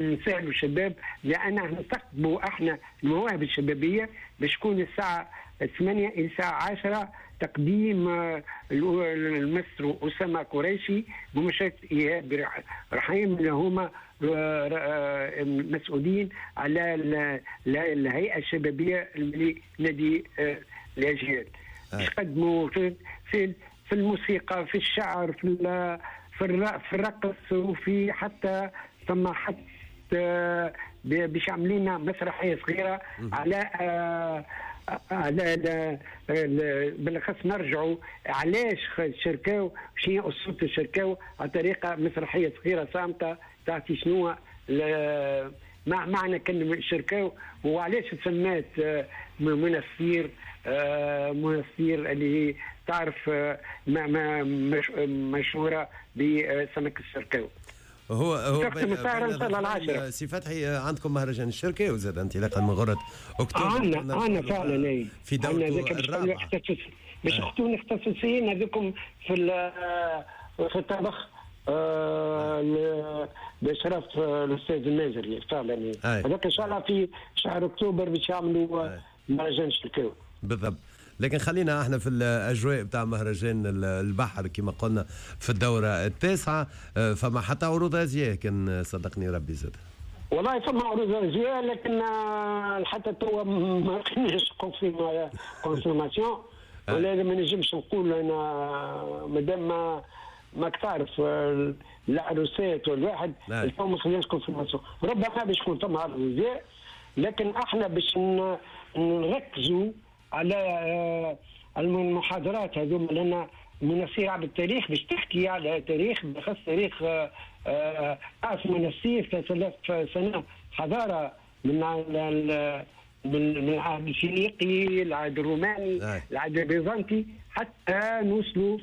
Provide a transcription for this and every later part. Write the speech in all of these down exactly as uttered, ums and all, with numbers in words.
نسهلوا الشباب، لان نستقطبوا احنا المواهب الشبابيه. باش تكون الساعة ثمانية الى الساعة عشرة تقديم آه، المستر اسامة قريشي بمشاركة ايهاب رحيم، اللي هما آه، آه، مسؤولين على الهيئة الشبابية لنادي الاجيال. باش يقدموا في في في الموسيقى، في الشعر، في في الرقص، وفي حتى ثم حتى باش يعملوا لنا مسرحية صغيرة على على بالاخص نرجعوا علاش شركاو، شنو اسلوب الشركاو، على طريقه مسرحية صغيرة صامته تعطي شنو مع معنى كلمة شركاو وعلاش تسمات منستير. منستير اللي هي تعرف ما ما مشهورة بسمك الشركاو. هو هو العاشرة. سي فتحي، عندكم مهرجان الشركاو زاد انطلاقا من غرة اكتوبر. عندنا عندنا فعلا اي في دورته الرابعة. باش يكونوا اختصاصيين هذوكم في في الطبخ آه باشراف الاستاذ المازري فعلا. هذاك ان شاء الله في شهر اكتوبر باش يعملوا مهرجان الشركاو. بالضبط، لكن خلينا احنا في الاجواء بتاع مهرجان البحر كما قلنا في الدورة التاسعه. فما حتى عروض ازياء كان صدقني ربي زاد. والله فما عروض ازياء، لكن حتى توا ما لقيناش confirmation، ولا ما نجمش نقول انا مادام ما ماك تعرف العروسات والواحد الفو ما خليناش confirmation. ربما باش يكون فما عرض ازياء، لكن احنا باش نركزوا على المحاضرات هذوما، لان منستير عبر التاريخ باش تحكي على تاريخ، بالاخص تاريخ قاس منستير ثلاثة آلاف سنة حضارة من من العهد الفينيقي، العهد الروماني، العهد البيزنطي، حتى نوصلوا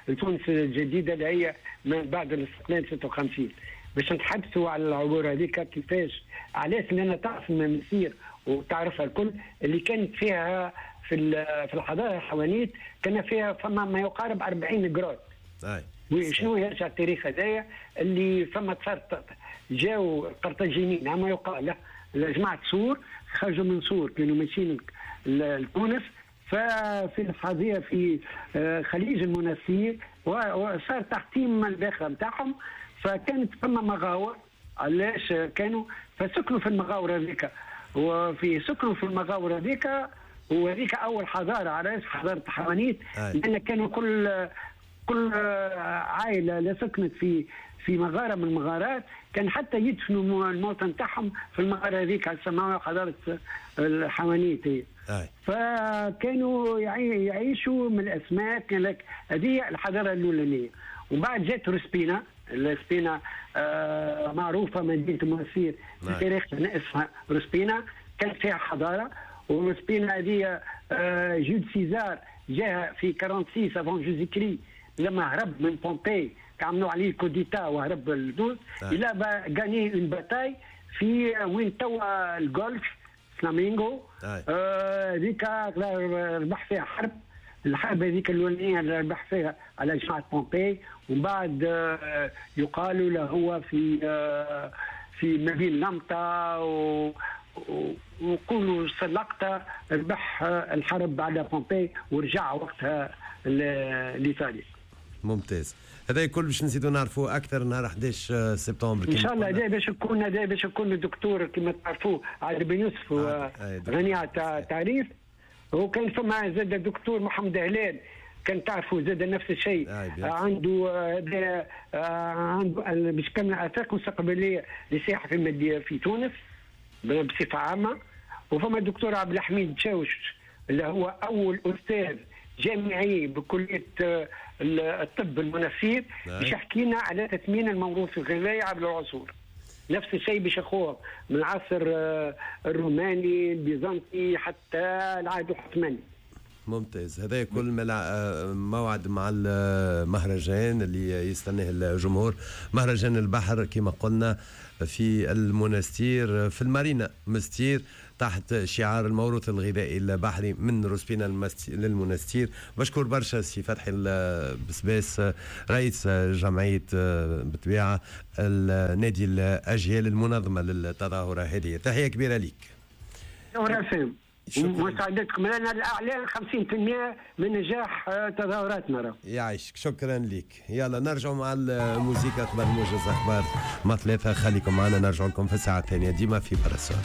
لتونس الجديدة اللي هي من بعد الاستقلال ستة وخمسين. باش نتحدثوا على العبور هذيك كيفاش، علاش، لان تعرف المسير وتعرفها الكل اللي كانت فيها في في الحضارة الحوانيت كان فيها فما ما يقارب أربعين grottes. وشنو يرجع التاريخ هذايا اللي فما صارت جاو القرطاجينيين ما يقال جماعة سور، خرجوا من سور كانوا ماشيين لتونس، ففي الحظيرة في خليج المنستير وصار تحطيم الباخرة نتاعهم، فكانت فما مغاور. علاش كانوا فسكنوا في المغاور هذيك، وفي سكنوا في المغاور هذيك، وهذيك اول حضارة. علاش حضارة الحوانيت؟ لان كانوا كل كل عائلة لا سكنت في في مغارة من المغارات كان حتى يدفنوا الموتى نتاعهم في المغارة هذيك، سموها حضارة الحوانيت. فكانوا يعيشوا من الاسماك. هذه الحضارة الاولانية. ومن بعد جات روسبينا. روسبينا آه معروفة مدينة المنستير في تاريخ اسمها روسبينا، كانت فيها حضارة. وروسبينا هذه آه جول سيزار جاها في ستة وأربعين avant Jésus-Christ لما هرب من بومبي، عملوا عليه coup d'état وهرب لتونس. il a gagné une bataille في وين توا ال golfe فلامينغو، هذيك آه ربح فيها حرب، الحرب هذيك الاولانية اللي ربح فيها على جماعة بومبي. ومن بعد آه يقال له هو في آه في مدينة لمطه ويقولوا سلقطه ربح الحرب على بومبي ورجع وقتها لايطاليا. ممتاز، هذا الكل باش نزيدوا نعرفوا اكثر نهار أحد عشر سبتمبر ان شاء الله. هذا باش يكون هذا باش يكون الدكتور كما تعرفوه عادل بن يوسف غني على التعريف، وكان فما زاد الدكتور محمد هلال كان تعرفوا زاد نفس الشيء، عنده عنده باش كان افاق مستقبلية للسياحة في في تونس بصفة عامة. وفما الدكتور عبد الحميد شاوش اللي هو اول استاذ جامعي بكلية الطب المنستير باش يحكي لنا على تثمين الموروث الغذائي عبر العصور. نفس الشيء باش ياخوه من العصر الروماني البيزنطي حتى العهد العثماني. ممتاز، هذا كل موعد مع المهرجان اللي يستناه الجمهور، مهرجان البحر كما قلنا في المنستير في المارينا مستير. تحت شعار الموروث الغذائي البحري من روسبينا للمنستير. بشكر برشا سي فتحي البسباس، رئيس جمعية بالطبيعة النادي الاجيال المنظمة للتظاهره هذه. تحية كبيرة ليك. مساعدتكم لنا الاعلان خمسين في المية من نجاح تظاهراتنا. يعيشك، شكرا لك. يلا نرجع مع الموسيقى قبل موجز اخبار مع ثلاثة. خليكم معنا، نرجع لكم في الساعة الثانية ديما في باراسول.